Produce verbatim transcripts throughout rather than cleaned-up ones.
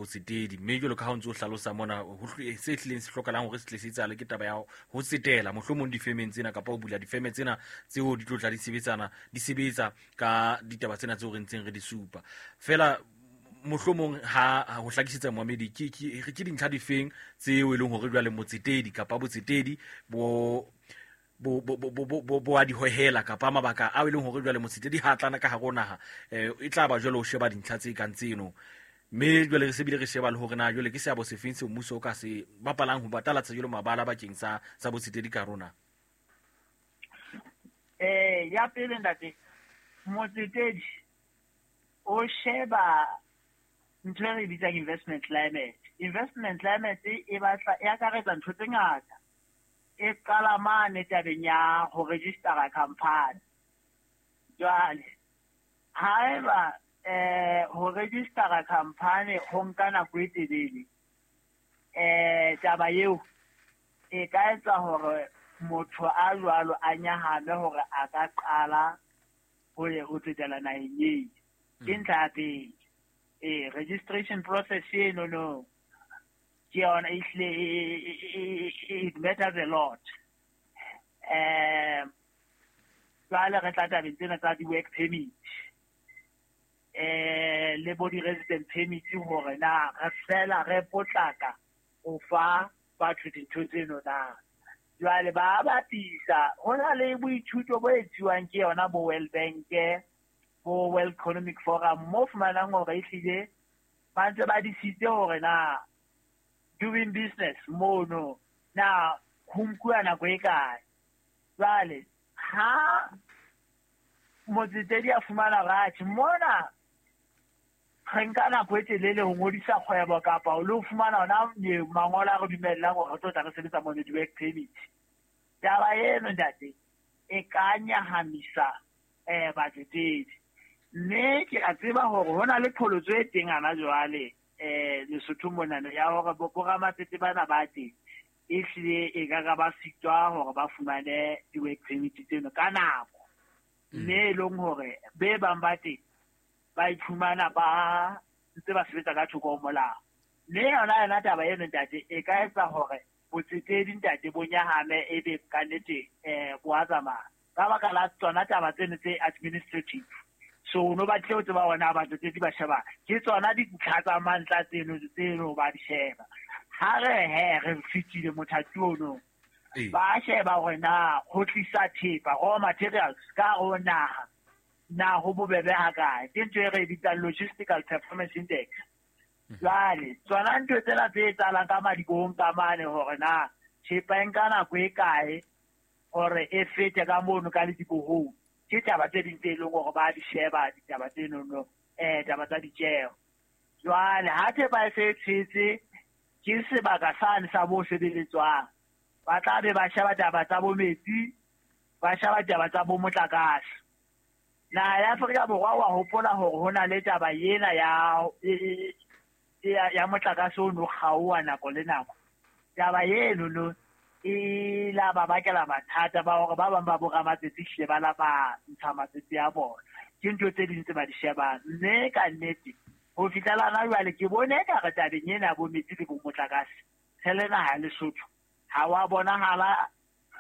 botsetedi. Mme jwalo ka ha o ntse o hlalosa mona, ho se hlileng se hlokahalang hore se tle se etsahale ke taba ya ho tsetela mohlomong difemeng tsena kapa ho bula difeme tsena tseo di tlo tla di sebetsana di sebetsa ka ditaba tsena tseo re ntseng re di supa. Feela mohlomong ha ho hlakisetsa moamedi ke ke ke dintlha difeng tseo e leng hore jwale motsetedi kapa botsetedi bo bo bo bo bo bo a di hohela kapa mabaka a e leng hore jwale motsetedi ha tlana ka hare ho naha, eh e tla ba jwale o sheba dintlha tse kang tseno. Mme jwale re se bile re sheba le hore na jwale ke seabo sefeng seo mmuso o ka se bapalang ho batalatsa jwale mabala bakeng sa sa botsetedi ka rona. Eh ya pele ntate, motsetedi o sheba ntho e re bitsang investment climate. Investment climate e batla e akaretsa ntho tse ngata. E qala mane tabeng ya ho registera company. Jwale haeba eh ho registera company ho nka nako e telele, eh taba eo e ka etsa hore motho a jwalo a nyahame hore a ka qala ho ye ho tsetela naheng eo. Ke ntlha ya pele. Eh registration process eno no ke yona ehlile it matters a lot. Eh jwale re tla tabeng tsena tsa di-work permit eh le bo di-resident permit hore na re fela re potlaka ho fa batho dintho tseno na. Jwale ba bapisa ho na le boithuto bo etsuwang ke yona bo World Bank, bo World Economic Forum, mo fumanang hore ehlile ba ntse ba disitse hore na doing business mono na ho nkuwa nako e kae. Jwale ha motsetedi a fumana ratjhe mona re nka nako e telele ho ngodisa kgwebo kapa o lo fumana ona mangolo a re dumellang hore re tlo tla re sebetsa mona di-work permit. Taba eno ntate e ka nyahamisa eh batsetedi. Mme ke a tseba hore ho na le qholotso e teng hana jwale eh Lesotho monana ya hore bo ramatsete bana ba teng ehlile e ka ka ba sitwa hore ba fumane di-work permit tseno ka nako. Mme e leng hore be bang ba teng ba iphumana ba ntse ba sebetsa ka thoko ho molao. Mme yona yona taba eno ntate e ka etsa hore botsetedi ntate bo nyahame ebe ka nnete eh bo a tsamaya ka baka la tsona taba tseno tse administrative. So no batle ho tseba hore na batsetedi ba sheba ke tsona dintlha tsa mantla tseno tseno ba di sheba. Ha re he re fitile mothati ono ba sheba hore na ho tlisa thepa raw materials ka ho naha na ho bobebe ha kae. Ke ntho e re bitsang logistical performance index. Jwale tsona ntho tsena tse etsahalang ka madibohong ka mane hore na thepa e nka nako e kae hore e fete ka mono ka ledibohong, ke taba tse ding tse leng hore ba di sheba ditaba tseno eh taba tsa ditjeho. Jwale ha thepa e se e tshetse ke sebaka sane sa bo sebeletswang, ba tla be ba sheba taba tsa bo metsi, ba sheba taba tsa bo motlakase. Naha ya Afrika Borwa wa hopola hore ho na le taba ena ya ya ya motlakase o no kgaoha nako le nako. Taba eno no e la ba bakela mathata ba hore ba bang ba bo ramatsetse hlile ba la ba ntsha matsetse a bona. Ke ntho tse ding tse ba di shebang. Mme ka nnete ho fihlela hona jwale ke bone ekare tabeng ena ya bo metsi le bo motlakase re le naha ya Lesotho ha wa bonahala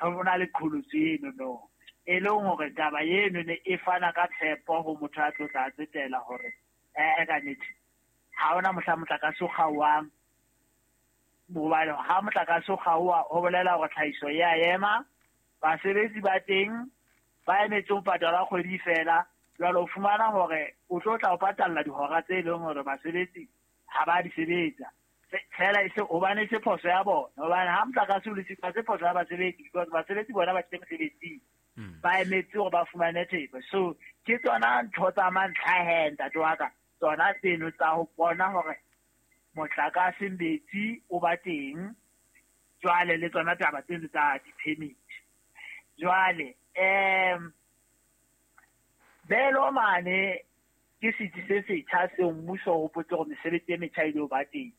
ho na le qholotso eno no. E leng hore taba eno ne e fana ka tshepo ho motho a tlo tla tsetela hore eh ka nnete ha hona mohla motlakase o kgaohang. Hobane ha motlakase o kgaoha ho bolela hore tlhahiso ya ema, basebetsi ba teng ba emetse ho patala kgwedi fela. Jwale o fumana hore o tlo tla o patalla dihora tse leng hore basebetsi ha ba di sebetsa fela e se hobane e se phoso ya bona. Hobane ha motlakase o le siko se phoso ya basebetsi because basebetsi bona ba tlile mosebetsing ba emetse hore ba fumane thepa. So ke tsona ntho tsa mantlha he ntate wa ka, tsona tseno tsa ho bona hore motlakase metsi o ba teng, jwale le tsona taba tseno tsa di-permit. Jwale um belo mane ke setsi se setjha seo mmuso o hopotse hore mesebetsi e metjha e lo ba teng.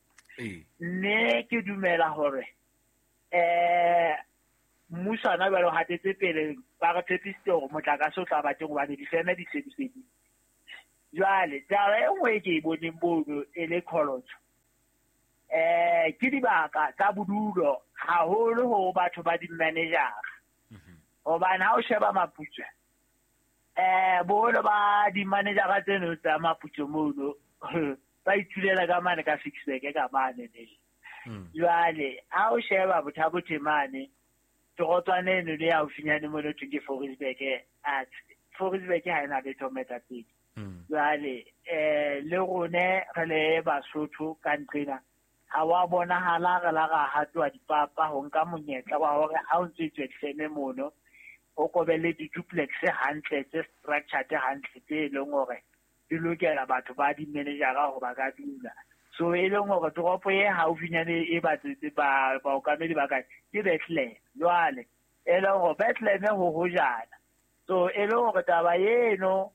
Mme ke dumela hore eh mmuso hona jwale o hatetse pele, ba re tshepisitse hore motlakase o tla ba teng hobane difeme di se di fedile. Jwale taba e nngwe e ke e boneng mono e le qholotso eh ke dibaka tsa bodulo haholo ho batho ba di-manager. Hobane ha o sheba Maputswe eh boholo ba di-manager tseno tsa Maputswe mono ba itulela ka mane ka Ficksburg ka mane ne. Jwale ha o sheba Botha-Bothe mane torotswana eno le haufinyane mono thwe ke Fouriesburg, a Fouriesburg ha ena letho moetapele. Jwale eh le rone re le Basotho ka nqena ha wa bonahala re la ra hatwa dipapa ho nka monyetla wa hore ha o ntse tswe difeme mono o kobele di-duplex hantle tse structured hantle tse leng hore di lokela batho ba di-managera hore ba ka dula. So e leng hore toropo e haufinyane e batsetse ba baokamedi ba kae ke Bethlehem. Jwale e leng hore Bethlehem ho hojana. So e leng hore taba eno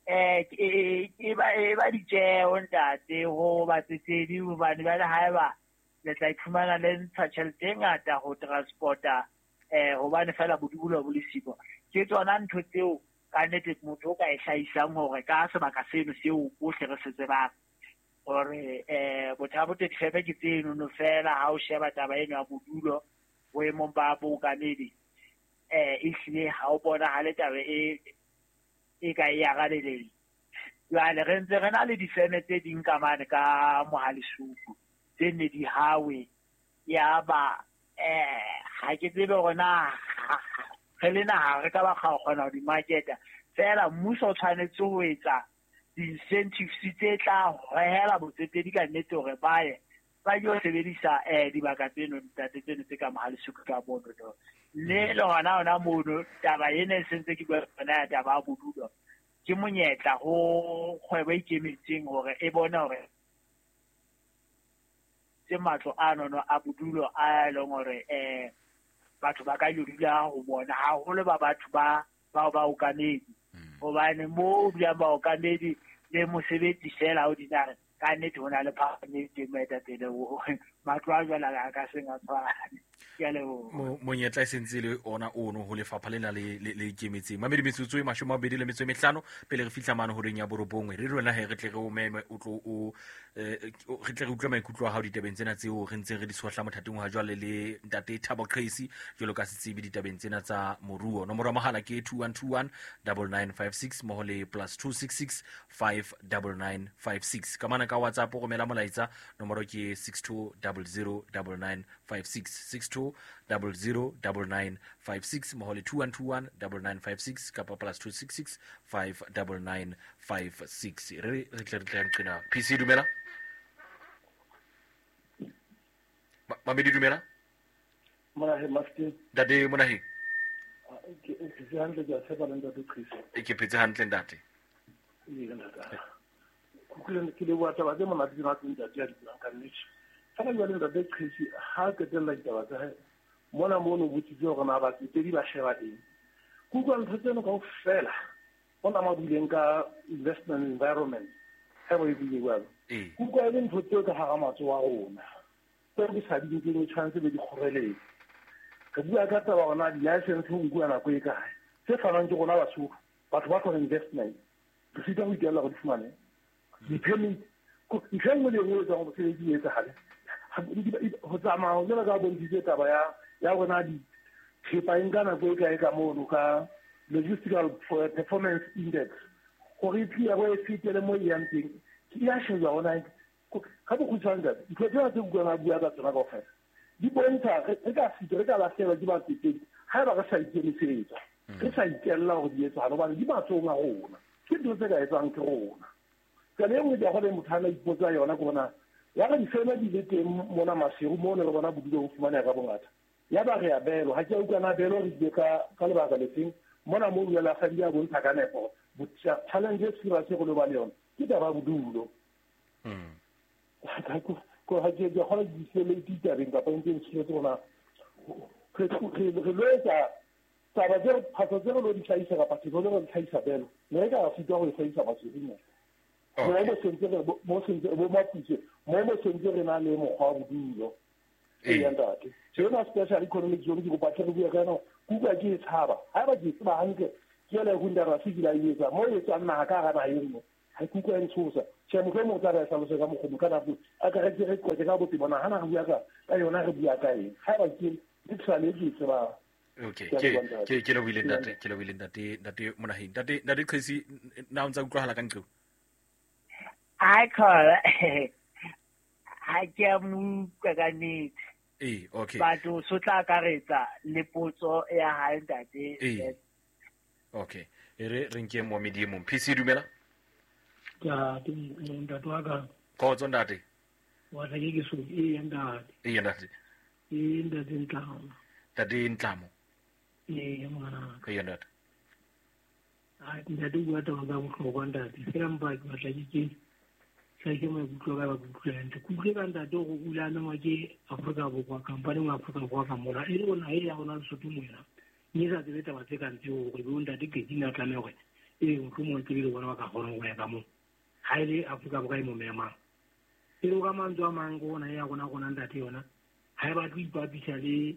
eh e ba e ba ditjeho ntate ho batsetedi hobane jwale haeba le tla iphumana le ntsha tjhelete e ngata ho transporta eh hobane fela bodulo bo le siko. Ke tsona ntho tseo ka nnete motho o ka e hlahisang hore ka sebaka seno seo bohle re se tsebang hore eh Botha-Bothe difeme ke tseno no fela ha o sheba taba eno ya bodulo boemong ba bookamedi eh ehlile ha o bonahale taba e e ka e arabeleng. Jwale re ntse re na le difeme tse ding ka mane ka Mohalesuku tse ne di hawe ya ba eh ha ke tsebe hore na re le naha re ka ba kgona ho di marketa fela. Mmuso o tshwanetse ho etsa di-incentives tse tla hohela botsetedi ka nnete hore ba ye ba yo sebedisa eh dibaka tseno ntate tseno tse ka Mohalesuku ka mono no. Mme le hona hona mono taba ena e sentse ke bua yona ya taba ya bodulo ke monyetla ho kgwebo e ikemetseng hore e bone hore tse matlo ano no a bodulo a leng hore eh batho ba ka yo dula ho bona haholo ba batho ba bao ba okamedi. Hobane mo dulang ba okamedi le mosebetsi fela o dinare ka nnete ho na le phapang e teng moetapele matlo a jwale a ka seng a tshwane. Ke a leboha. Monyetla e sentse le ona ono ho lefapha lena le le ikemetseng. Mamedi metsotso e mashome a mabedi le metso e mehlano pele re fihla mane horeng ya borobongwe. Re rona he re tle re o meme o tlo o re tle re utlwe maikutlo a hao ditabeng tsena tseo re ntseng re di sohla mothateng wa jwale le ntate Thabo Qesi jwalo ka setsebi ditabeng tsena tsa moruo. Nomoro ya mohala ke two one two one nine nine five six mmoho le plus two six six five nine nine five six. Ka mana ka WhatsApp o romela molaetsa nomoro ke six two zero zero nine nine five six six two zero zero nine nine five six mmoho le two one two one nine nine five six kapa plus two six six five nine nine five six. Re re tle re tle nqena. P C dumela. Mamedi dumela. Monahe Master. Ntate Monahe. Ke ke hantle ke a tshepa le ntate Chris. E ke phetse hantle ntate. Ee ntate. Ke ke le bua taba tse monate tsena tse ntate ya di buang ka nnete. Fela jwale ntate Chris ha qetella ditaba tsa hae mona mono botsitse hore na batsetedi ba sheba eng. Ke utlwa ntho tseno kaofela hona ma buileng ka investment environment ha bo e buile jwalo. Ke utlwa e le ntho tseo ka hara matsoho a rona tseo ke sa di nkeng tshwanetse be di kgoreletse. Re bua ka taba hore na di-license ho nkuwa nako e kae tse fanwang ke rona Basotho batho ba tlhoka investment re sita ho itella hore di fumane di-permit. Ntho e nngwe le e nngwe e etsang hore mosebetsi o etsahale ho tsamaya jwalo ka bontshitse taba ya ya rona dithepa e nka nako e kae ka mono ka logistical performance index hore e tliya bo e fetele mo e yang teng e a shejwa hona ka bokgutshwane ntate. Ntho tsena tse utlwang a bua ka tsona kaofela di bontsha re ka sita re ka lahlehelwa ke batsetedi haeba re sa ikemisetsa re sa itella hore di etsahale hobane di matsohong a rona. Ke ntho tse ka etswang ke rona. Tsela e nngwe ke ya hore motho a na ipotsa yona ke bona ya re difeme di le teng mona Maseru mo ne re bona bodulo bo fumaneha ka bongata ya ba re a beelwa ha ke a utlwa na beelwa re ile ka ka lebaka lefeng mona mo dulela sa di a bontsha ka nepo challenge e serious go le ba le yona ke taba ya bodulo. Ko ha ke ke kgona di sele ditabeng kapa ntse ntse rona re re lo etsa taba tse phaso tse re lo di hlahisa kapa tse re lo di hlahisa belo ne re ka sitwa ho e hlahisa Maseru mo mo sentse re mo sentse bo Maputswe mo mo sentse re na le mokgwa wa bodulo. Ee ntate yona special economic zone ke kopa tle re bue ka yona kuka ke e tshaba haeba ke tseba hantle ke ele ho ndara se ke la etsa mo e tswang naha ka hara naha e nngwe Ha ke utlwa e ntshosa. Tjhe, mohlomong o tla re hlalose ka mokgwa ka nako a ka re ke re qoqe ka botebo na hana re bua ka ka yona re bua ka eng. Haeba ke ke tlhale ke tseba. Okay, ke ke ke lebohile ntate, ke lebohile ntate, ntate Monaheng. Ntate ntate Qhesi, na o ntsa utlwahala ka nqeo? Ai khola. Ha ke a mo utlwa ka nnete. Eh, okay. Batho so tla akaretsa le potso ya hae ntate. Eh. Okay. E re re nke momedi e mong. P C dumela. Ja, ke ntate wa ka. Khotso ntate. Wa tla ke so e ntate. E ntate. E ntate Ntlamo. Ntate Ntlamo. E ngwana. E ntate. A ntate o bua taba tsa bohlokwa ntate. Fela mpa ke batla ke ke sa ke maikutlo ka ba kutlwe hantle. Ke utlwe ka ntate hore o ile a mengwa ke Afrika Borwa, company ya Afrika Borwa ka mona. E le rona e ya rona Lesotho mona. Mme sa tsebe taba tse kang tseo hore bo ntate Qetsi na tlameha hore e mohlomong tsebe le bona ba ka kgona ho ya ka moo. Ha e le Afrika Borwa e mo memang. E le ka mantswe a mang ko ona ya rona rona ntate yona. Ha e batle ho ipapisa le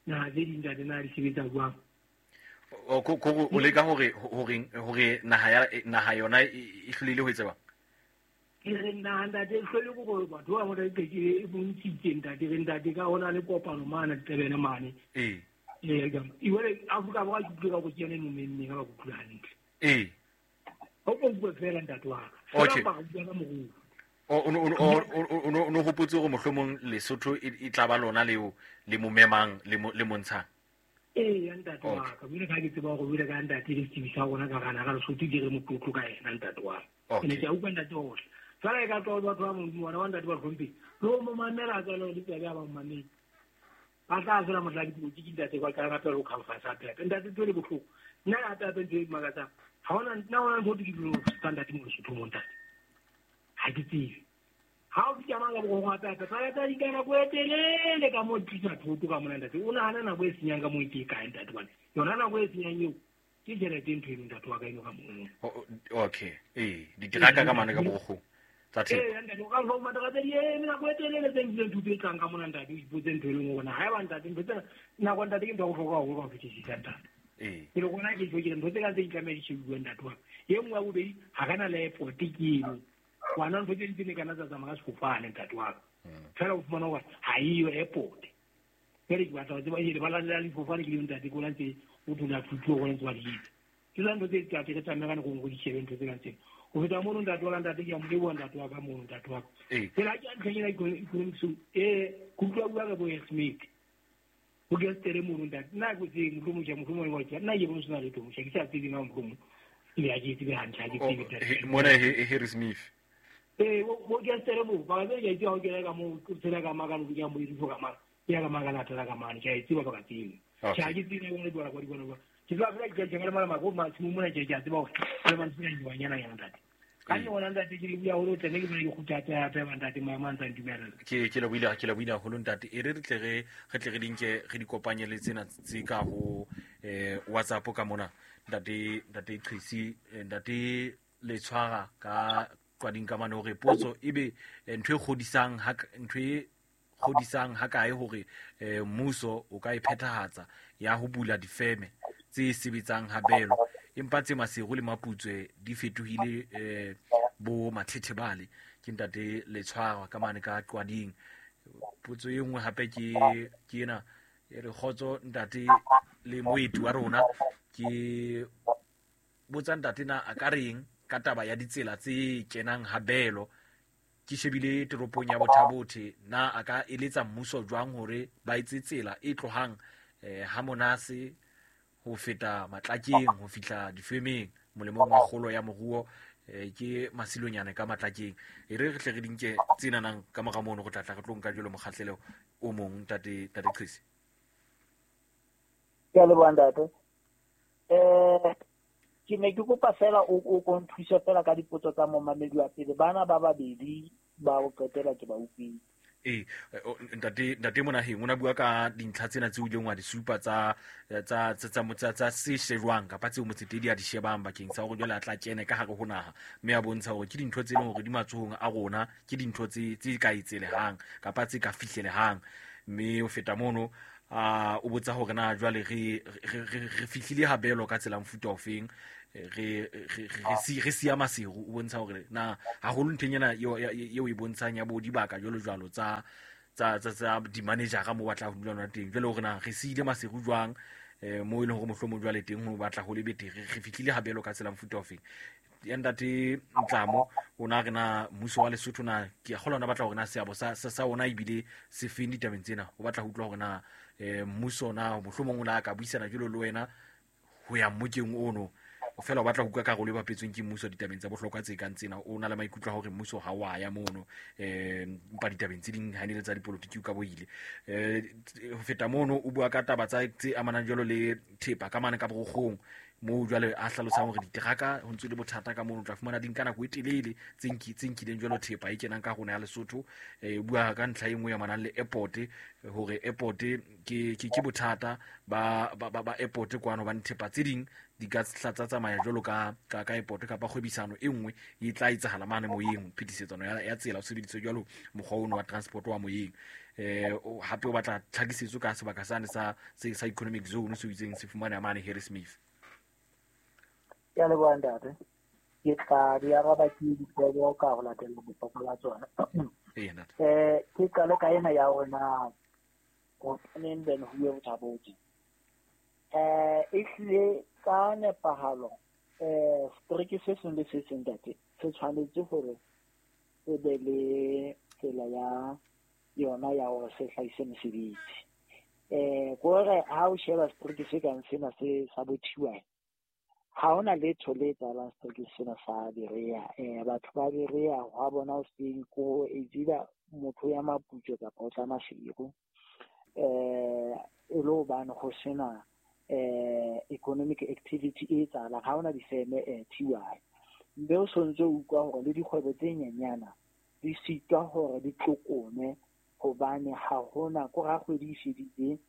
naha tse ding ntate na di sebetsa jwang. O ko ko o leka hore hore hore naha ya naha yona e hlolehile ho etsa bang? Ke re naha ntate e hlole ke hore batho ba bona ke e bontshitse ntate re ntate ka hona le kopano mane Tebene mane. Eh. Eh, jwale Afrika Borwa ke utlwe ka hore ke yona e mo memmeng ha ba utlwe hantle. Eh. Ha o bua fela ntate wa ka. Okay. Fela ba bua ka moruo. O o o o o hopotse hore mohlomong Lesotho e tla ba lona leo le mo memang le mo le montshang. Eh, ntate wa ka. Jwale ka ke tseba hore jwale ka ntate le setsebi sa rona ka gana ka Lesotho ke re motlotlo ka yena ntate wa ka. Ke ne ke a utlwa ntate ohle. Jwale e ka tloha batho ba Modimo bona ba ntate ba hlomphe. Le ho mo mamela tswalo le tsebe ya ba mo mamela. Ba tla fela mohla dipolotiki ntate kwa ka rapela ho conference hape. Ntate ntho e le bohloko. Nna hape hape ntho e makatsang. Ha hona nna hona ntho ke dilo standard mo Lesotho mo ntate. Ha ke tsebe. Ha o fihla mang ka borong hape hape. Ba tla di ka nako e telele ka mo tlisa thoto ka mona ntate. O nahana nako e senyang ka mo e ke kae ntate bana. Yona nako e senyang eo ke tjhelete ntho eno ntate wa ka eno ka mono. Okay. Eh, diteraka ka mane ka borogong. Tsa thepa. Eh, ntate o ka fa matraka tse di eme nako e telele tse nkileng thuto e tlang ka mona ntate o ipotse ntho e leng hore na haeba ntate ntho tsena nako ntate ke ntho ya bohlokwa haholo ka ho fetisisa ntate. Eh. Ke le rona ke tjho ke ntho tse kang tse di tlameha di shebuwe ntate wa ka. E nngwe ya bobedi ha re na le airport ke eno. Ngwana ntho tse ding tse ne kana tsa tsamaya ka sefofane ntate wa ka. Fela o fumana hore ha eyo airport. Jwale ke batla ho tseba e lebala la difofane ke le ntate ko la ntse o dula thuto go ntse ba di etsa. Ke tsona ntho tse ntate re tlameha ka nako di shebe ntho tse kang tsena. Ho feta mono ntate wa ka ntate ke a mo leboha ntate wa ka mono ntate wa ka. Eh. Fela ke a ntlheng ena economics eh ke utlwa bua ka bo Smith. Ho ke tsere mono ntate nna ke tse mohlomong ke mohlomong wa ke nna ke bona sena letho mosha ke sa tsebe na mohlomong. Le a ke tsebe hantle ha ke tsebe ntate. Mona Harry Smith. Eh bo ke tsere mo ba ke ke itse ha ke ka mo tsela ka maka lo ke mo itse ka maka. Ya ka maka la tsela ka mane ke a tseba ba ka tsebe. Ke a ke tsebe le bona kwa di bona. Ke tla fela ke ke mala mako ma tshimo mona ke ke a tseba hore le ba ntse ke banyana yana ntate. Ka le bona ntate ke le bua hore o tle ke bone ke kgutla hape ba ntate maemo a ntse a ntumella. Ke ke lebohile ke lebohile haholo ntate. E re re tle re re tle re di nke re di kopanye le tsena tse ka ho eh WhatsApp ka mona ntate ntate Qhesi ntate Letshwara ka qwading ka mane hore potso ebe ntho e kgodisang ha ntho e kgodisang ha kae hore mmuso o ka e phethahatsa ya ho bula difeme tse sebetsang habelo empa tse Maseru le Maputswe di fetohile eh bo mathethebale. Ke ntate Letshwara ka mane ka qwading. Potso e nngwe hape ke ke ena e re kgotso ntate le moeti wa rona ke botsa ntate na a ka reng ka taba ya ditsela tse kenang habelo. Ke shebile toropong ya Bothabothe na a ka eletsa mmuso jwang hore ba etse tsela e tlohang eh ha Monase ho feta Matlakeng ho fihla difemeng molemong wa kgolo ya moruo eh ke Masilonyane ka Matlakeng. E re re tle re di nke tsena nang ka mora mono go tla tla re tlo nka jwalo mokgahlelo o mong ntate ntate Qhesi. Ke a leboha ntate. Eh ke ne ke kopa fela o o ko nthuse fela ka dipotso tsa momamedi wa pele bana ba babedi ba o qetela ke ba utlwile. Eh ntate ntate Monaheng o na bua ka dintlha tsena tse o ileng wa di supa tsa tsa tsa tsa tsa se shejwang kapa tseo motsetedi a di shebang bakeng sa hore jwale a tla kene ka hare ho naha mme a bontsha hore ke dintho tse leng hore di matsohong a rona ke dintho tse tse ka etselehang kapa tse ka fihlelehang mme o feta mono a o botsa hore na jwale re re re fihlile habelo ka tsela mofuta ofeng Re re re re siya Maseru o bontsha hore na haholo ntheng ena eo eo e bontshang ya bo dibaka jwalo jwalo tsa tsa tsa tsa di-manager mo batla ho dula lona teng. Jwale hore na re siile Maseru jwang eh mo e leng hore mohlomong jwale teng ho batla ho le betere, re fihlile habelo ka tsela mofuta ofeng. Ya ntate Ntlamo o na re na mmuso wa Lesotho na ke a kgolwa ona batla hore na seabo sa sa ona ebile se feng ditabeng tsena. O batla ho utlwa hore na eh mmuso na mohlomong o la ka buisana jwalo le wena ho ya mmokeng ono. O fela o batla ho utlwa karolo e bapetsweng ke mmuso ditabeng tsa bohlokwa tse kang tsena. O na le maikutlo a hore mmuso ha wa ya mono eh mpa ditabeng tse ding ha ne le tsa dipolotiki o ka boile. Eh ho feta mono o bua ka taba tsa tse amanang jwalo le thepa ka mane ka borokgong mo jwale a hlalosang hore diteraka ho ntse le bothata ka mono, o tla fumana di nka nako e telele tse nki tse nkileng jwalo thepa e kenang ka rona ya Lesotho. Eh bua ka ntlha e nngwe ya manang le airport hore airport ke ke ke bothata ba ba ba airport kwano ba thepa tse ding di ka tla tsamaya jwalo ka ka ka airport kapa kgwebisano e nngwe e tla etsahala mane moyeng, phetisetsano ya ya tsela o sebediswe jwalo mokgwa ono wa transport wa moyeng. Eh hape o batla tlhakisetso ka sebaka sane sa sa economic zone se itseng se fumana mane Harrismith. Ke a leboha ntate. Ke tla di araba ke dipotso ka ho latela bohlokwa ba tsona. Ee ntate. Eh ke qale ka ena ya rona ho neng ben ho ye bothabotse. Eh e hlile ka nepahalo eh setereke se seng le se seng ntate se tshwanetse hore se be le tsela ya yona ya hore se hlahise mesebetsi. Eh kore ha o sheba setereke se kang sena se sa bothiwa ha hona letho le etsahalang setereke sena sa Berea. Eh batho ba Berea ha bona o seng ko e dira motho ya Maputswe kapa o tla Maseru eh e lo bana ho sena eh economic activity e etsahalang, ha hona difeme eh T Y. Mme o sontse o utlwa hore le dikgwebo tse nyenyana di sitwa hore di tlokome hobane ha hona ko ra kgwedi e fedile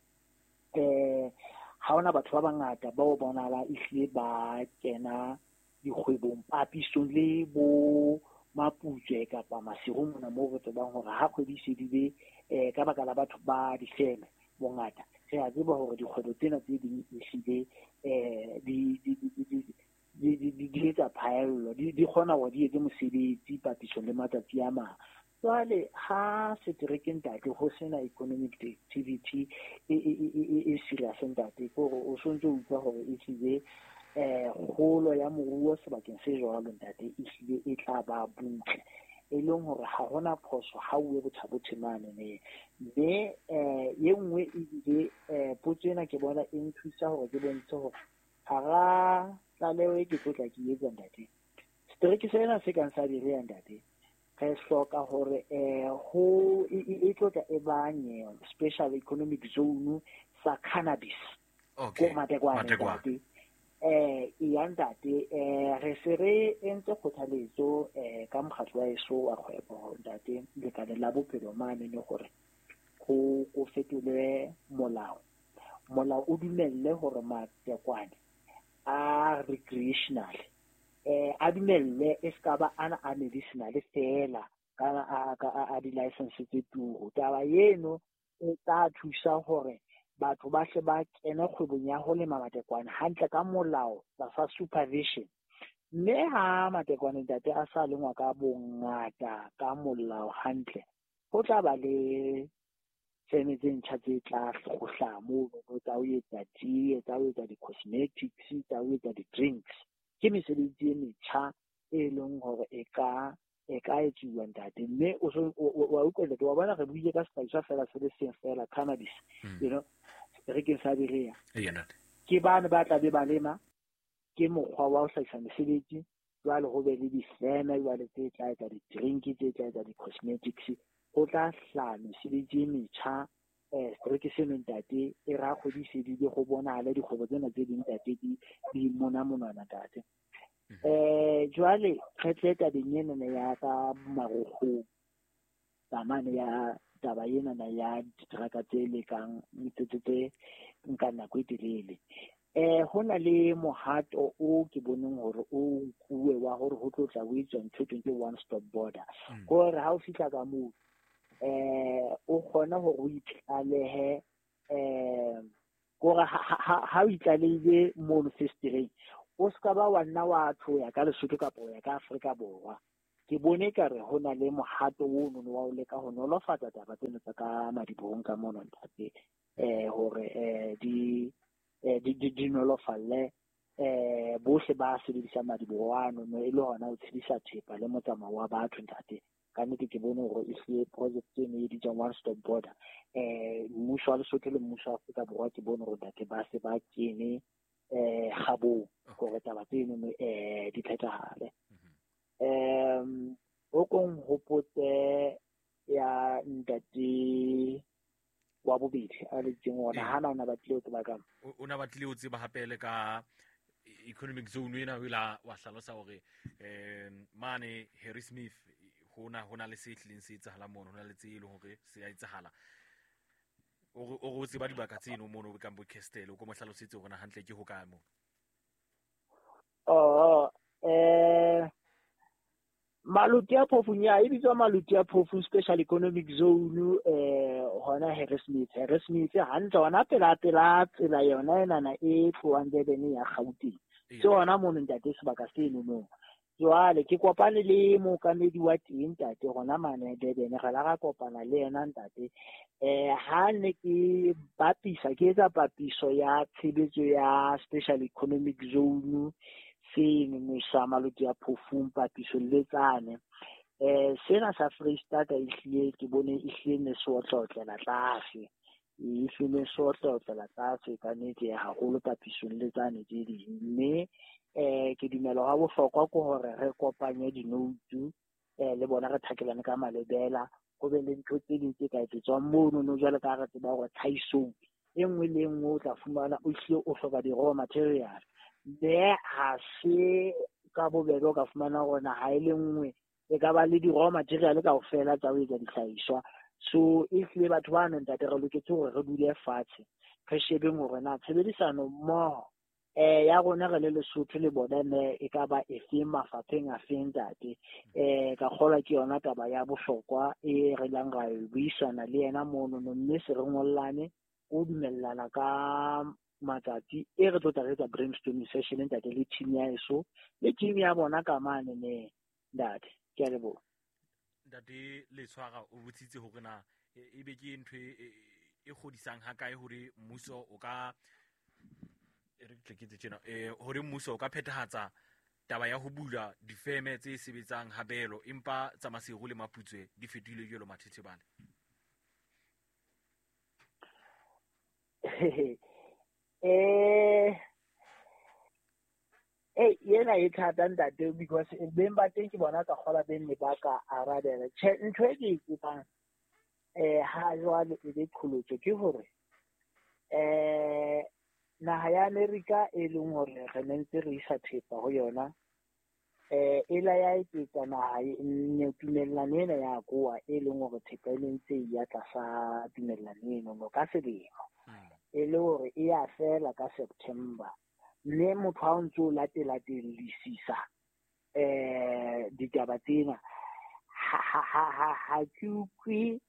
eh ha hona batho ba bangata ba o bonahala ehlile ba kena dikgwebong papisong le bo Maputswe kapa Maseru mona moo re tsebang hore ha kgwedi e fedile eh ka baka la batho ba difeme bongata re a tseba hore dikgwebo tsena tse ding ehlile eh di di di di di di di etsa phaello, di di kgona hore di etse mosebetsi papisong le matsatsi a mang. Jwale ha setereke ntate ho sena economic activity e e e e serious ntate, ke hore o sontse o utlwa hore ehlile eh kgolo ya moruo sebakeng se jwalo ntate ehlile e tla ba butle, e leng hore ha hona phoso ha o ye bothabothe mane ne. Mme eh e nngwe ebile eh potso ena ke bona e nthusa hore ke bontshe hore hara tlaleho e ke tlo tla ke etsa ntate, setereke sena se kang sa Berea ntate re hloka hore eh ho e tlo tla e banye special economic zone sa cannabis. Okay. Ko Matekwane ntate. Eh e ya ntate eh re se re entse kgothaletso eh ka mokgatlo wa eso wa kgwebo ntate lekaleng la bophelo mane ne hore ho go fetolwe molao. Molao o dumelle hore Matekwane a recreational eh a dumelle e ska ba ana a medicinal fela ka a a di license tse turu. Taba eno e tla thusa hore batho ba hle ba kene kgwebong ya ho lema matekwane hantle ka molao tlasa supervision. Mme ha matekwane ntate a sa lengwa ka bongata ka molao hantle, ho tla ba le feme tse ntjha tse tla hlohla mono tsa ho etsa tee, tsa ho etsa di-cosmetics, tsa ho etsa di-drinks. Ke mesebetsi e metjha e leng hore e ka e ka etsuwa ntate. Mme o so wa utlwa ntate, wa bona re buile ka sehlahiswa fela se le seng fela cannabis, you know, seterekeng sa Berea. Ke bane ba tla be ba lema, ke mokgwa wa ho hlahisa mesebetsi. Jwale ho be le difeme jwale tse tla etsa di-drink, tse tla etsa di-cosmetics, ho tla hlaha mesebetsi e metjha eh setereke seno ntate e ra kgwedi e fedile go bonahale dikgwebo tsena tse ding ntate di di mona monwana ntate. Eh jwale re tle tabeng enana ya ka marokgong tsamane ya taba enana ya diteraka tse lekang tse tse nka nako e telele. Eh ho na le mohato o ke boneng hore o nkuwe wa hore ho tlo tla o etswa ntho e teng one stop border, hore ha o fihla ka moo eh o kgona hore o itlalehe eh kore ha o itlaleile mono festereng o ska ba wa nna wa tloya ka Lesotho kapa o ya ka Afrika Borwa. Ke bone ka re ho na le mohato o no wa o leka ho nolofatsa taba tseno tsa ka madibohong ka mono ntate, eh hore eh di di di nolofalle eh bohle ba sebedisa madiboho ano no e le hona ho tshedisa thepa le motsamao wa batho ntate. Ka nnete ke bone hore e hlile project eno e bitswang One Stop Border, eh mmuso wa Lesotho le mmuso wa Afrika Borwa ke bone hore ntate ba se ba kene eh kgabong hore taba tseno eh di phethahale. Um o kong hopotse ya ntate wa bobedi a letseng ona hana ona batlile ho tseba ka o na batlile ho tseba hape le ka economic zone ena o ila wa hlalosa hore eh mane Harry Smith hona hona le se tlileng se etsahala mono, hona le tse e leng hore se a etsahala. O o tseba dibaka tseno mono ka bo Castel o ko mo hlalosetse hore na hantle ke ho kae mo. Oh eh Maluti a Phofung ya e bitswa Maluti a Phofung Special Economic Zone eh hona Harry Smith. Harry Smith hantle hona pela pela tsela yona enana e tlohang Durban ya Gauteng. So hona mono ntate sebaka seno mo. Jwale ke kopane le mookamedi wa teng ntate hona mane Durban, re la ra kopana le yena ntate. Eh ha ne ke bapisa ke etsa papiso ya tshebetso ya Special Economic Zone seno sa Maluti a Phofung papiso le tsane. Eh sena sa Freistata e hlile ke bone e hlile ne se otlotlela tlase, e hlile se otlotlela tlase ka nnete haholo papisong le tsane tse ding. Mme eh ke dumela ha bohlokwa ke hore re kopanye dinoutu eh le bona re thakelane ka malebela, ho be le ntho tse ding tse ka etsetswang mono no jwale ka re tseba hore tlhahisong e nngwe le e nngwe o tla fumana o hlile o hloka di-raw material, mme ha se ka bobebe o ka fumana hore naha e le nngwe e ka ba le di-raw material kaofela tsa ho etsa dihlahiswa. So e hlile batho bano ntate re loketse hore re dule fatshe re shebeng hore na tshebedisano mmoho eh ya rona re le Lesotho le bona ne e ka ba efeng mafapheng a feng ntate. Eh ka kgolwa ke yona taba ya bohlokwa e re lang ra e buisana le yena mono no, mme se re ngollane o dumellana ka matsatsi e re tlo tla re etsa brainstorming session ntate le team ya eso le team ya bona ka mane ne ntate. Ke a leboha ntate. Letshwara o botsitse hore na e be ke ntho e kgodisang ha kae hore mmuso o ka re tleketse tjena eh hore mmuso o ka phethahatsa taba ya ho bula difeme tse sebetsang habelo empa tsa Maseru le Maputswe di fetohile jwalo mathethebane. Eh eh yena e thata ntate because beng ba teng ke bona ka kgola beng ne ba ka arabela. Tjhe ntho e ke e tsebang eh ha jwale e be qholotso ke hore eh naha ya Amerika e leng hore re ne ntse re isa thepa ho yona eh e la ya eketsa naha ne tumellano ena ya koa e leng hore thepa e ne ntse e ya tlasa tumellano eno no ka selemo e le hore e ya fela ka September. Mme motho ha o ntso o latela-tellisisa eh ditaba tsena ha ha ha ha ke utlwe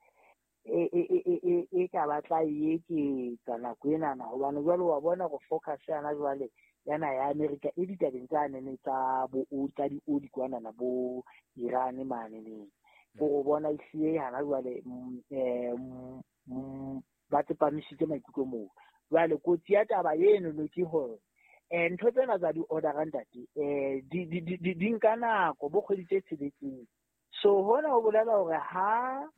e e e e ka batla e eketsa nako enana hobane jwale wa bona go focus yana jwale yana ya America e ditabeng tsa nene tsa bo tsa dioli kwanana bo Iran mane neng go bona ehlile hana jwale eh ba tsepamisitse maikutlo moo. Jwale kotsi ya taba eno no ke hore eh ntho tsena tsa di-order ntate eh di di di nka nako bo kgwedi tse tsheletseng. So hona ho bolela hore ha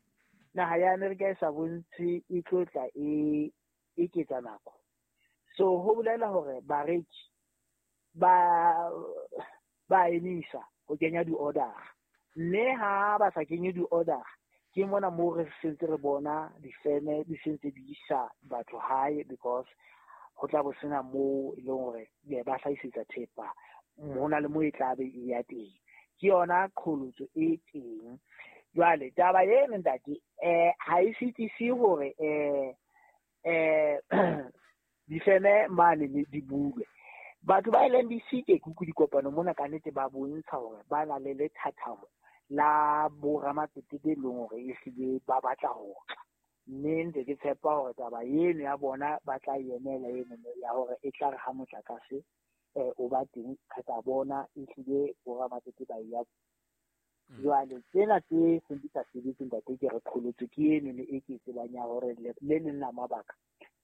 naha ya Amerika e sa bontshe e tlo tla e eketsa nako, so ho bolela hore bareki ba ba emisa ho kenya di-order, mme ha ba sa kenye di-order ke mona moo re sentse re bona difeme di sentse di isa batho hae because ho tla bo sena moo e leng hore ba hlahisetsa thepa hona le moo e tla be e ya teng. Ke yona qholotso e teng. Jwale taba eno ntate eh ha e sitise hore eh eh difeme mane di bulwe. Batho ba L N D C ke kuku dikopano mona ka nnete ba bontsha hore ba na le lethathamo la boramatsete be leng hore ehlile ba batla ho tla, mme ntse ke tshepa hore taba eno ya bona ba tla emela eno ya hore e tla re ha motlakase eh o ba teng re tla bona ehlile boramatsete ba ya. Jwale tsena tse seng di sa sebetse ntate ke re qholotso ke eno e ke tsebang ya hore le leng la mabaka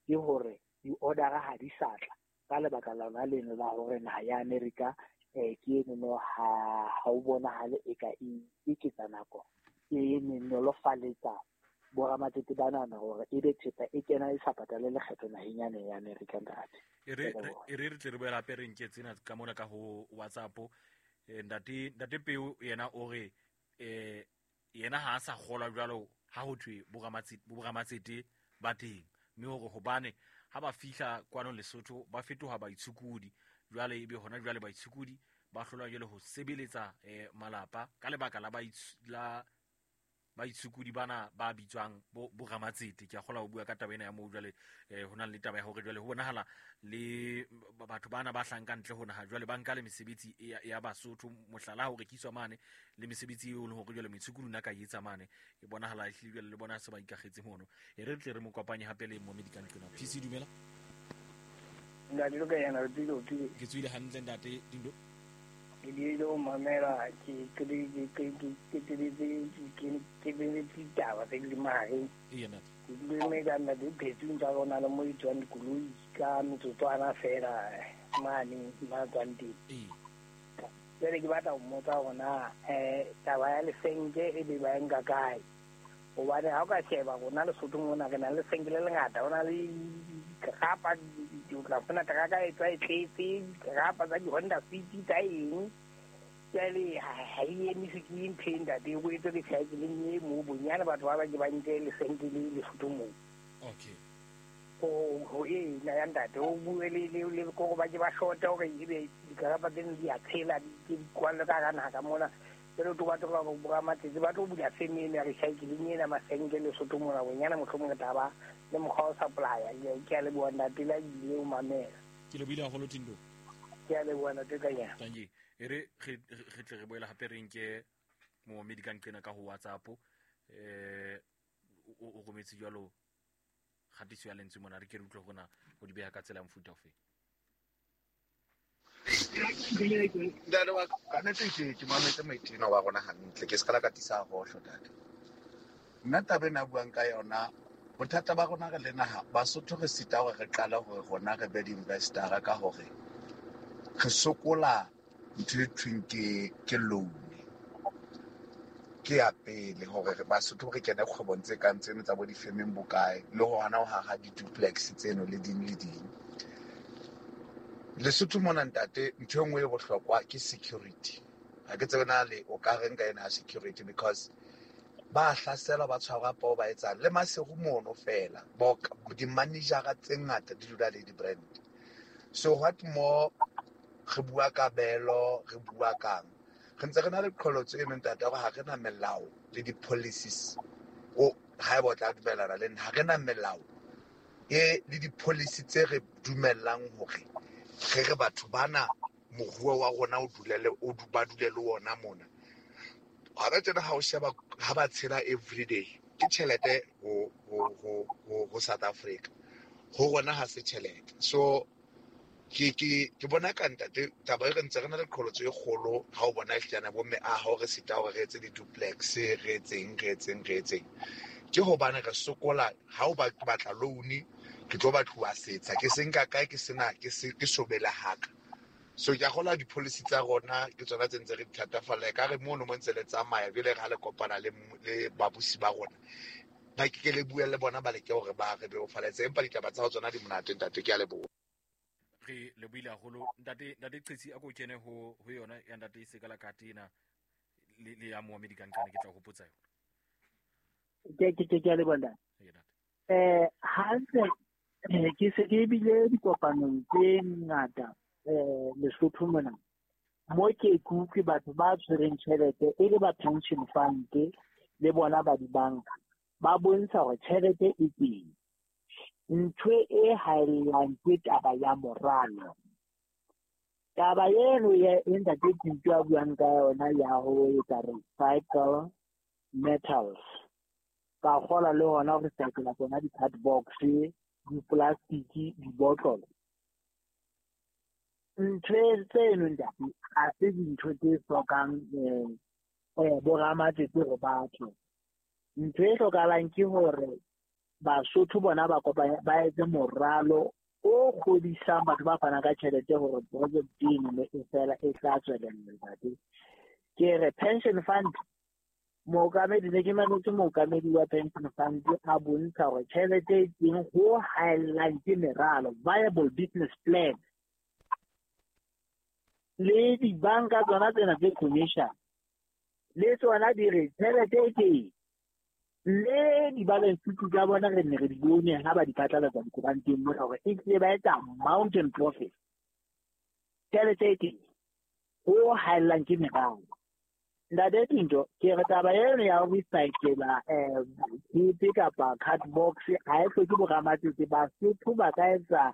ke hore di-order-a ha di sa tla ka lebaka la lona leno la hore naha ya America eh ke eno no ha ha o bonahale e ka e eketsa nako e nolofaletsa boramatsete banana hore ebe thepa e kena e sa patale lekgetho naheng yane ya America ntate. E re e re re tle re boele hape re nke tsena ka mona ka ho WhatsApp. Ntate ntate Peo yena o re eh yena ha a sa kgolwa jwalo ha ho thwe boramatsete ba teng, mme hore hobane ha ba fihla kwano Lesotho ba fetoha baitshokodi, jwale ebe hona jwale baitshokodi ba hlolwa jwale ho sebeletsa eh malapa ka lebaka la la baitshokodi bana ba bitswang bo boramatsete. Ke a kgola ho bua ka taba ena ya moo jwale eh ho na le taba ya hore jwale ho bonahala le batho bana ba hlang ka ntle ho naha jwale ba nka le mesebetsi ya, ya Basotho, mohlala ho rekiswa mane le mesebetsi eo le hore jwale moitshokodi na ka etsa mane e bonahala ehlile jwale le bona se ba ikagetse mono. E re tle re mo kopanye hape le momedi ka ntlona. P C dumela. Ntate lo ka yana re tsile o tsile. Ke tswile hantle ntate Dindo. Ke diile ho mamela ke ke ke ke ke ke ke ditaba tse di mahareng. Ee ntate. Ke dule me ka nna di phetsung tsa rona le mo di tswang dikoloi ka metsotswana fela mane ma tswang teng. Ee. Jwale ke batla ho mmotsa hore na um taba ya lesenke e be ba e nka kae, hobane ha o ka sheba rona Lesotho mona re na le lesenke le lengata, ho na le rapa o tla fumana teraka e tswa e tletse rapa tsa di-Honda Fit tsa eng. Jwale ha e emise ke ntho e ntate o etse recycling e moo bonyane batho ba ba ke ba nke lesenke le Lesotho moo. Okay. Ho ho ena ya ntate o bue le le le ko ba ke ba shota hore ebe dikarapa tseno di a tshela di di kwalle ka hara naha ka mona. Jwale o tlo batla hore boramatsete ba tlo bula feme eno ya recycling ena masenke Lesotho mona bonyane mohlomong re tla ba le mokgwa o supply-a. Ke a leboha ntate la ile o mamela. Ke lebohile haholo Tindo. Ke a leboha ntate ka nyana. Thank you. E re re tle re boele hape re nke momedi ka nqena ka ho WhatsApp eh o rometse jwalo kgatiso ya lentswe mona re ke re utlwe hore na ho di beha ka tsela ya mofuta ofe. Ntate wa ka nnete ke ke mametse maitena wa rona hantle ke se ka la katisa hohlo ntate. Nna taba ena buang ka yona bothata ba rona re le naha Basotho re sita hore re qala hore rona re be di-investor-a ka hore re sokola ntho e thweng ke ke loan. Ke ya pele hore Basotho re kene kgwebong tse kang tseno tsa bo difemeng bokae le hona ho haha di-duplex tseno le ding le ding. Lesotho mona ntate ntho e nngwe e bohlokwa ke security. Ha ke tsebe na le o ka reng ka ena ya security because ba hlasela ba tshwarwa poo ba etsang le Maseru mono fela bo di-manager-a tse ngata di dula le di-brand. So what more re bua ka belo re bua kang re ntse re na le qholotso eno ntate hore ha re na melao le di-policies o haeba o tla dumellana le nna ha re na melao e le di-policy tse re dumellang hore re re batho bana moruo wa rona o dulele o ba dule le ona mona. Hona tjena ha o sheba ha ba tshela everyday ke tjhelete ho ho ho ho South Africa ho rona ha se tjhelete. So ke ke ke bona ka ntate taba e re ntse re na le qholotso e kgolo ha o bona ehlana bo mme a ha re sita hore re etse di-duplex re etseng re etseng re etseng ke hobane re sokola ha o ba batla loan ke tlo batluwa setsha ke se nka kae ke sena ke se ke sobela haka. So ke a kgolwa di-policy tsa rona ke tsona tse ntse re di thatafalla ka re mono mo ntse le tsamaya jwale ha le kopana le le babusi ba rona ba ke ke le bue le bona ba leke hore ba re bebofaletse empa ditaba tsa ho tsona di monate ntate ke a leboha. Re lebohile haholo ntate ntate Qetsi a ko kene ho ho yona ya ntate Sekala Katina le le ya moamedi ka nqane ke tla hopotsa yona. Ke ke ke a leboha ntate. Eh hantle ke se ke bile dikopanong tse ngata eh Lesotho mona mo ke kutlwe batho ba tshwereng tjhelete e le ba pension fund le bona ba dibanka ba bontsha hore tjhelete e teng. Ntho e haellang ke taba ya moralo. Taba eno ya e ntate Tito a buang ka yona ya ho etsa recycle metals ka kgola le hona ho recycle tsona di-cardbox, di-plastic, dibotlolo. Ntho tseno ntate ha se dintho tse hlokang eh boramatsetse hore batho. Ntho e hlokahalang ke hore Basotho bona ba kopanya ba etse moralo o kgodisang batho ba fanang ka tjhelete hore project eno e fela e tla tswelella ntate. Ke re pension fund mookamedi ne ke mametse mookamedi wa pension fund a bontsha hore tjhelete e teng ho haellang ke meralo, viable business plan. Le dibanka tsona tsena tse commercial le tsona di re tjhelete e teng, le di-balance sheet tsa bona re ne re di bone ha ba di phatlalatsa dikoranteng mona hore e tlile ba etsa mountain profit. Tjhelete e teng, ho haellang ke meralo. Ntate Tinto, ke re taba eno ya ho recycle-a tshepe kapa cardbox ha e hloke boramatsetse. Basotho ba ka etsa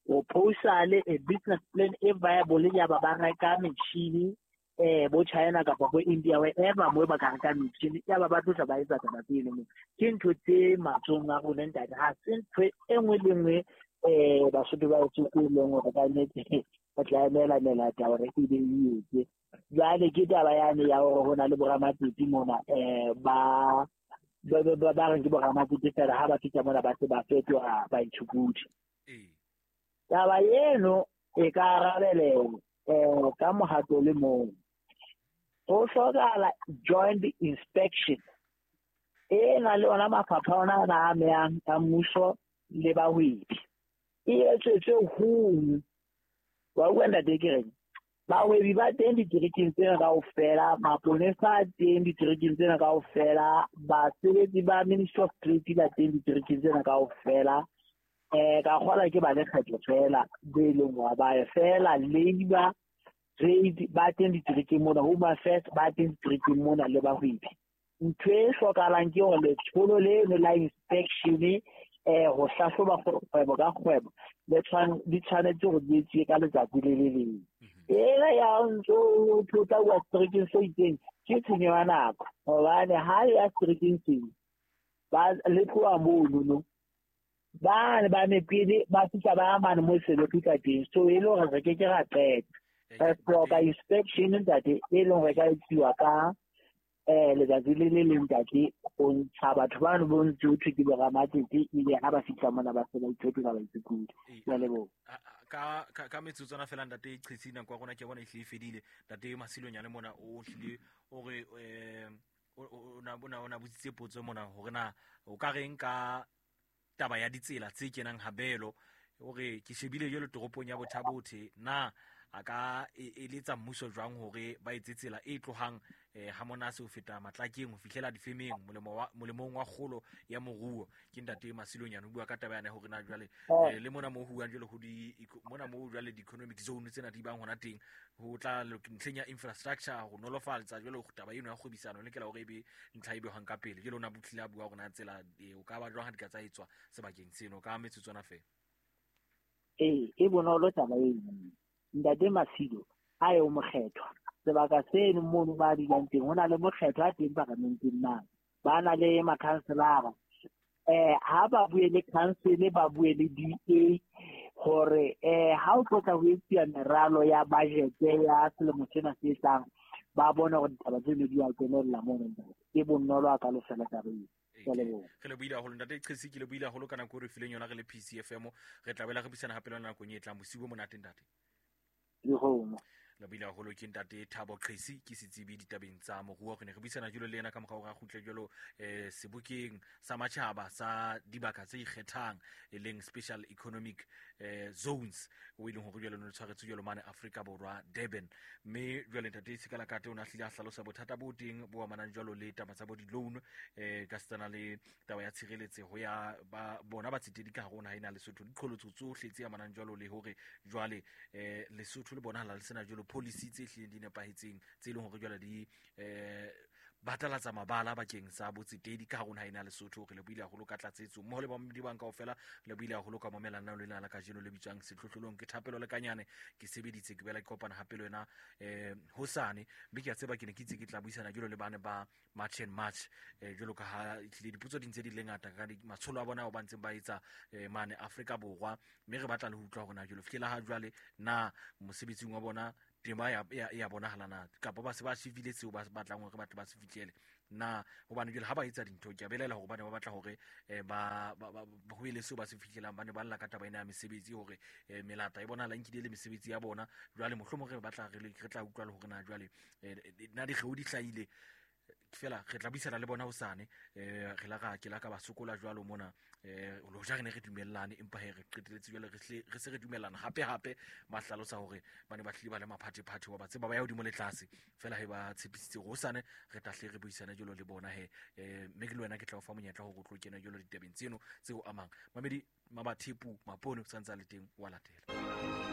proposal, a business plan e viable ya ba ba reka metjhini eh bo China kapa bo India wherever mo ba ka reka metjhini ya ba ba tlosa ba etsa taba tseno mo. Ke ntho tse matsohong a rona ntate, ha se ntho e nngwe le nngwe eh Basotho ba e leng hore ka nnete ba tla emela melata hore e be e etse. Jwale ke taba yane ya hore ho na le boramatsetse mona eh ba ba ba reng ke boramatsetse fela ha ba fihla mona ba se ba fetoha baitshokodi. Taba eno e ka arabelelwa eh ka mohato le mong. Ho hlokahala joint inspection e na le ona mafapha ona a amehang a mmuso le bahwebi. E etsetswe hong wa utlwa ntate ke reng? Bahwebi ba teng diterekeng tsena kaofela, maponesa a teng diterekeng tsena kaofela, basebetsi ba Ministry of Trade ba teng diterekeng tsena kaofela. Eh ka kgola ke ba lekgetho fela be leng wa ba fela labor trade ba teng diterekeng mona, Home Affairs ba teng diterekeng mona le bahwebi. Ntho e hlokahalang ke hore letsholo leno la inspection eh ho hlahloba kgwebo ka kgwebo le tshwan di tshwanetse hore di etsuwe ka letsatsi le le leng. Ena ya ntso thota wa seterekeng se itseng ke tshenyo ya nako, hobane ha le ya seterekeng seo ba le tloha mono ba ne ba mepele ba fihla ba mane mo se le fihla teng, so e le hore re ke ke ra qeta. Re hloka inspection ntate e leng hore ka etsiwa ka eh letsatsi le le leng ntate, ho ntsha batho bano bo ntse ho thwe ke boramatsetse, ebe ha ba fihla mona ba se ba ithotela ba itshokodi. Ke a leboha. Ka ka ka metsotswana fela ntate Qhesi, nako ya rona ke bona e hlile e fedile. Ntate Masilonyane mona o hlile o re eh o na o na botsitse potso mona hore na o ka reng ka taba ya ditsela tse kenang Habelo, o re ke shebile jwalo toropong ya Bothabothe, na a ka eletsa mmuso jwang hore ba etse tsela e tlohang ha Monase ho feta Matlakeng ho fihlela difemeng molemong wa kgolo ya moruo. Ke ntate Masilonyane o bua ka taba yana hore na jwale le mona moo ho buang jwale ho di mona moo jwale di-economic zone tsena di bang hona teng ho tla ntlheng ya infrastructure ho nolofatsa jwale taba eno ya kgwebisano le lokela hore e be ntlha e behwang ka pele. Jwale o na botlile a bua hore na tsela o ka ba jwang ha di ka tsa etswa sebakeng seno ka metsotswana fela. Ee, e bonolo taba eno. Ntate Masilo a ye o mokgethwa sebaka seno mono ba dulang teng ho na le mokgethwa a teng paramenteng mane, ba na le makhanselara eh ha ba bue le council ba bue le D A hore eh ha o tlotla ho etsa meralo ya budget ya selemo sena se tlang, ba bone hore ditaba tseno di a kenella mono ntate. Ke bonolo a ka lo fela taba eo. Re le buile haholo ntate Qhesi, ke le buile haholo ka nako e re fileng yona re le P C F M. Re tla boela re buisana hape le nakong e tlang. Bosiu bo monate ntate. Dikgomo. Le buile haholo ke ntate Thabo Qhesi, ke setsebi ditabeng tsa moruo. Re ne re buisana jwalo le yena ka mora hore a kgutle jwalo eh sebokeng sa matjhaba sa dibaka tse ikgethang e leng special economic eh zones, o e leng hore jwalo no tshwaretswe jwalo mane Afrika Borwa Durban. Mme jwale ntate Sekalakate o na hlile a hlalosa bothata bo teng bo amanang jwalo le taba tsa bo di-loan eh ka setsana le taba ya tshireletseho ya ba bona batsetedi ka hare ho naha ena Lesotho, diqholotso tsohle tse amanang jwalo le hore jwale eh Lesotho le bonahala le sena jwalo policy tse hlileng di nepahetseng tse leng hore jwale di eh batalatsa mabala bakeng sa botsetedi ka hare ho naha ena ya Lesotho. Re lebohile haholo ka tlatsetso mmoho le bamamedi bang kaofela, re lebohile haholo ka mamela nna le lena la kajeno le bitswang Sehlohlolong. Ke Thapelo Lekanyane, ke sebeditse ke boela ke kopana hape le wena eh hosane, mme ke a tseba ke ne ke itse ke tla buisana jwalo le bane ba March and March eh jwalo ka ha ehlile dipotso di ntse di le ngata ka matsholo a bona ao ba ntseng ba etsa eh mane Afrika Borwa, mme re batla le ho utlwa hore na jwalo fihlela ha jwale na mosebetsing wa bona tema ya ya bonahala na, kapa ba se ba shifile seo ba batlang hore batho ba se fihlele na, hobane jwale ha ba etsa dintho ke a belaela hore ba ne ba batla hore ba ba ho ele seo ba se fihlelang. Ba ne ba lla ka taba ena ya mesebetsi hore melata e bonahala nkile le mesebetsi ya bona. Jwale mohlomong re batla re re tla utlwa le hore na jwale na dikgeo di hlahile fela. Re tla buisana le bona hosane, eh re la ra ke la ka ba sokola jwalo mona eh lo ja re ne re dumellane, empa he re qeteletse jwale re re se re dumellana hape hape. Ba hlalosa hore ba ne ba hlile ba le maphathephathe wa ba tseba ba ya hodimo le tlase fela, he ba tshepisitse hore hosane re tla hle re buisana jwalo le bona he eh mme ke le wena ke tla o fa monyetla hore o tlo kena jwalo ditabeng tseno tseo amang mamedi Mabathepu Mapone o santse a le teng wa latela.